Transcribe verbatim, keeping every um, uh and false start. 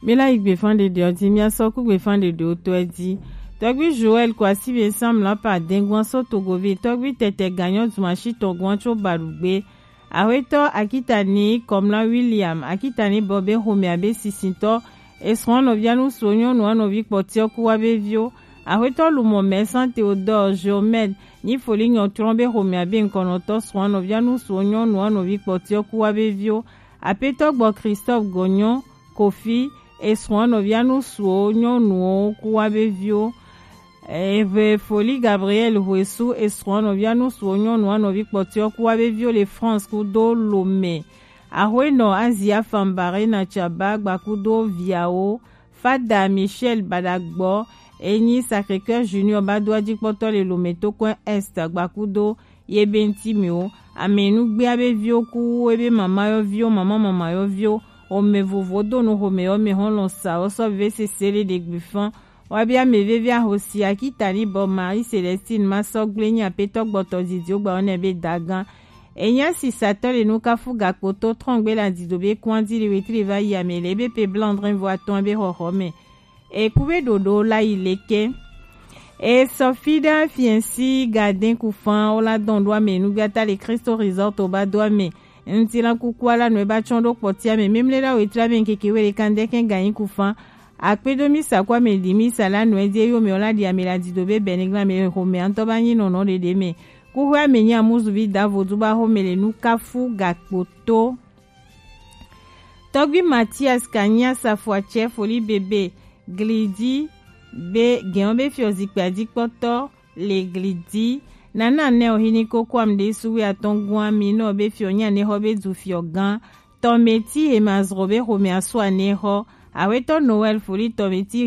Mi la yi gbefan ɖeɖe ɔ ji, mi a sɔ ku gbefan ɖeɖe ɔ tɔ ɛ ji. Tɔgbi Joël Kwasi be Sam la pa dengwan so Togovi, tɔgbi Tɛtɛ Ganyɔ Dumashi tɔgwan tso Balugbe. Axwetɔ Akitani Kɔmla William, Akitani bɔ be xomɛ abe sisintɔ, esrɔ̃ nɔvia nu suɔ nyɔnu anɔvi kpɔtiɔ ku wa be viwo. Axwetɔ Lumɔ Mɛsan Theodore Geomède, nyi foli nyɔ trɔn be xomɛ abe ŋkɔnɔtɔ srɔ̃ nɔvia nu suɔ nyɔnu anɔvi kpɔtiɔ ku wa be viwo. Apetɔ gbɔ Christophe Gɔnyɔ Kofi, esrɔ̃ nɔvia nu suɔ nyɔnuwo ku wa be viwo. Eve foli Gabriel Huesu, esrɔ̃ nɔvia nu suɔ nyɔnu anɔvi kpɔtiɔ ku wa be viwo le France kudo Lomé. Axwenɔ Azia Fambarena Tsaba gbakudo viawo. Fada Michel Badagbɔ, enyi Sacré-Cœur Junior ba do ajikpɔtɔ le Lomé to kɔn Est gbakudo ye be ŋti mi wo. Ame nu gbea be viwo ku ebe mama yɔ viwo, mama mama yɔ viwo. Ome vovo do nu xome yɔ me hɔn lɔ sa wo sɔ ve sese le ɖe gbe fɔn. Wa be ame veve ahosi Akitani bɔ Marie Célestine ma sɔ gble nyi apetɔ gbɔtɔ zizi wo gba wo nɛ be dagan. Enya sisatɔ le nu kafu gakpo to trɔngbe la dido be kwan di le wetri va yi ame le be pe blanc drin vo atɔn be xɔxɔ me. Eku be ɖoɖo la yi leke. E sɔ fi ɖa fiɛnsi gadin kufan wo la dɔn ɖo ame nugbata le Christo Resort o ba do ame. Ŋti la kuku ala nu e ba tsɔn ɖo kpɔti ame. Memle la wetri ame nkeke wele kan de kɛn ganyi kufan. Akpedo mi sa ko ame ɖi mi sa la nu e die yo me o la ɖi ame la dido be bɛnigla me xome antɔ ba nyi nɔnɔ ɖeɖe me. Kuxwe ame nyi amuzuvi da vodu ba xome le nu kafu gakpo to. Tɔgbi Mathias Kanya Safuatsɛ foli bebe glidi be gɛn be fiɔ zikpui adikpɔtɔ le glidi. Nana nɛ o hini koko am de suwe atɔn guan mi nɔ be fiɔ nya ne xɔ be du fiɔ gan. Tɔmeti he ma zro be xome asu ane xɔ. Awetɔ Noël foli tɔmeti